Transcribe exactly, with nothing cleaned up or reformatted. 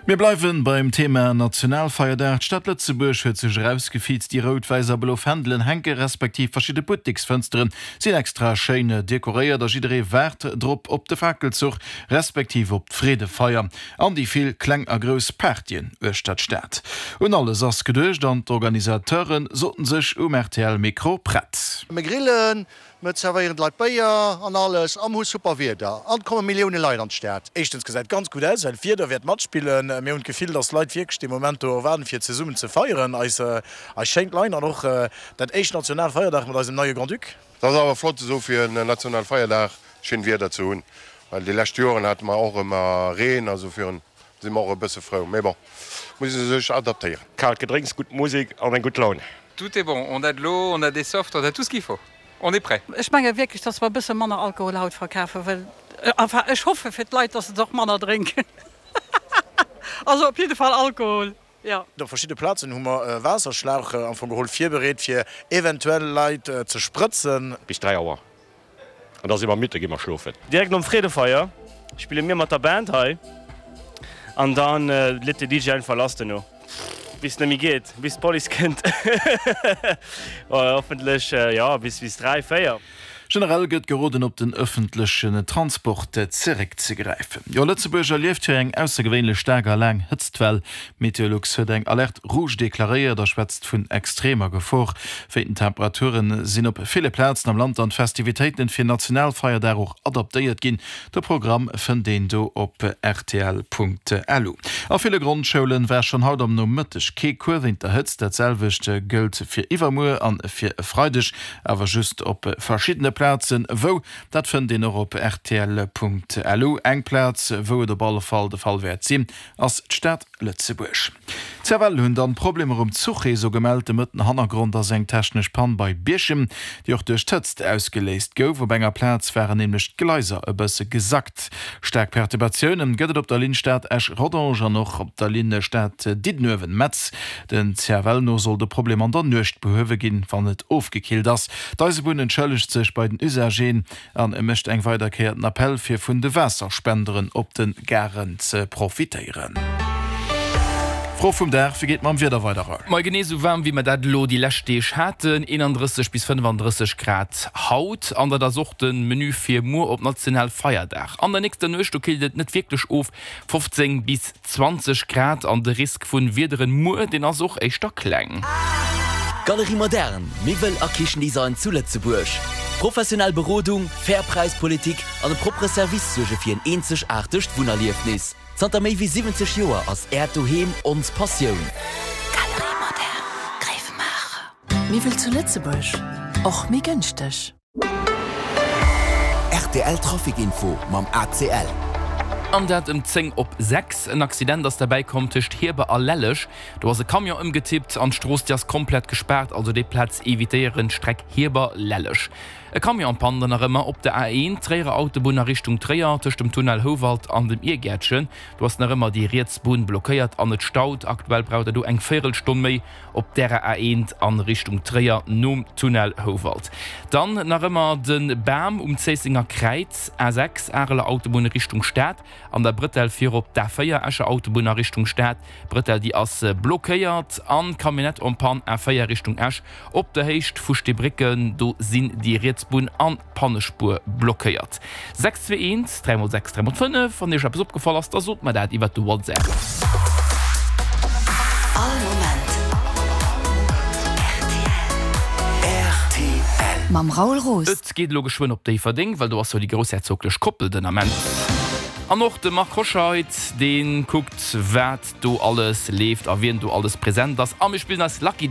Mir bleiwen beim Thema Nationalfeierdag. D'Stad Lëtzebuerg huet sech erausgefiizt, déi rout, wäiss a blo Fändelen hänke respektiv verschidde Butteksfënstere sinn extra schéin dekoréiert a jidderee waart drop op de Fakelzuch respektiv op d'Freedefeier an déi vill kleng a grouss Partyen uechter d'Stad. Un alles ass geduecht an d'Organisateure soten sech um R T L Mikro prett. Mir grillen, mir zerwéieren d'Leit Béier an alles a mir hu super Wieder an et komme Millioune Leit an d'Stad. Éischtens gesäit ganz gutt aus, well d'Wieder wäert matspillen. Mir hunn d'Gefill, dass d'Leit wierklech dee Moment do waarden, fir zesummen ze feieren. Eis eis schéint Land an och dat éischt Nationalfeierdag mat eisem neie Grand-Duc. Dat ass awer flott esou fir en Nationalfeierdag schéin Wieder ze hunn, well déi lescht Joren hate mer och ëmmer Reen, also fir si mer och e bësse frou. Mee bon, muss ee sech adaptéieren. Kaalt Gedrénks, gutt Musek an eng gutt Laun. Tout est bon, on a de l'eau, on a des softs, on a tout ce qu'il faut. On est prêt. Ech menge wierklech, dass mer e bësse manner Alkohol haut verkafen, well enfin ech hoffe fir d'Leit, dass se och manner drénken. Also op jidde Fall Alkohol, jo. Op verschidde Plazen hu mer Waasserschlauch am Fong geholl virbereet, fir eventuell Leit ze sprëtzen. Bis dräi Auer an da si mer midd, da gi mer schlofen. Direkt nom Freedefeier spille mir mat der Band hei an dann leet de D J einfach lass duerno. Bis et net méi geet, bis d'Police kënnt. Hoffentlech jo bis bis dräi, véier. Generell gëtt geroden op den ëffentlechen Transport zeréckzegräifen. Jo, Lëtzebuerg erlieft jo eng aussergewéinlech staark a laang Hëtztwell. Meteolux huet eng Alerte rouge deklaréiert a schwätzt vun extremer Gefor. Wéi den Temperaturen sinn op ville Plazen am Land an d'Festivitéiten fir Nationalfeierdag och adaptéiert ginn. De Programm fënnt een do op R T L Punkt L U. A ville Grondschoulen war schonn haut am Nomëtteg kee Cours wéint der Hëtzt. Dat selwecht gëllt fir iwwermuer an fir e Freideg, awer just op verschiddene Plazen, wou dat fënnt een och op R T L Punkt L U. Eng Plaz, wou et op alle Fall de Fall wäert sinn, ass d'Stad Lëtzebuerg. D' C F L hunn dann Problemer um Zuchreseau gemellt. De Mëtten Hannergrond ass eng technesch Pann bei Bierchem, déi och duerch d'Hëtzt ausgeléist gouf. Op enger Plaz waren nämlech d'Gleiser e bësse gesackt. Staark Perturbatiounen gëtt et op der Linn Stad Esch-Rodange an och op der Linn Stad Diddenuewen-Metz. Den C F L no soll de Problem an der Nuecht behuewe ginn, wann et ofgekillt ass. D'Eisebunn entschëllegt sech bei den Usagéen an mécht eng weider Kéier den Appell fir vun de Waasserspenderen op de Garen ze profitéieren. Fro vum Dag, wéi geet et mam Wieder weider? Mol genee sou waarm wéi mer dat elo déi lescht Deeg haten, eenandrësseg bis fënnefandrësseg Grad haut an dat ass och de Menu fir muer op Nationalfeierdag. An der nächster Nuecht do killt et net wierklech of, fofzéng bis zwanzeg Grad an de Risk vun Wiederen muer deen ass och éischter kleng. Galerie Moderne, Miwwel a Kichendesign zu Lëtzebuerg. Professionell Berodung, fair Präispolitik an e proppere Service suerge fir en eenzegaartegt Wunnerliefnis. Zanter méi wéi siwwenzeg Joer ass Äert Doheem ons Passioun. Galerie Moderne, Gréiwemaacher. Miwwel zu Lëtzebuerg, och méi gënschteg. R T L Trafic Info mam A C L. An dat ëm zéng op sechs. En Accident ass derbäi komm tëscht Hierber a Lelleg. Do ass e Camion ëmgetippt an d'Strooss déi ass komplett gespaart, also déi Plaz evitéieren, Streck Hierber-Lelleg. E Camion en panne dann nach ëmmer op der A eent, Tréierer Autobunn a Richtung Tréier, tëscht dem Tunnel Houwald an dem Irgäertchen. Do ass nach ëmmer déi riets Bunn blockéiert an et staut. Aktuell braucht der do eng Véierelstonn méi op därer A eent an Richtung Tréier nom Tunnel Houwald. Dann nach ëmmer de Bam um Zéissenger Kräiz, A sechs, Areler Autobunn Richtung Stad, an der Brëttel fir op d'A véier, Escher Autobunn a Richtung Stad. D'Brëttel déi ass blockéiert an Camionnette en panne A véier Richtung Esch op der Héicht vu Steebrécken, do sinn déi riets Bunn an d'Pannespuer blockéiert. sechs zwee eent dräi mol sechs dräi mol fënnef, wann iech eppes opgefall ass, da sot mer dat iwwert de WhatsApp. All Moment R T L. Mam Raoul Roos. Et geet elo geschwënn op Déifferdeng, well do ass jo déi groussherzoglech Koppel den Ament. An och de Marc Hoscheid, dee kuckt, wat do alles leeft a wien do alles present ass. A mir spillen eis Lucky.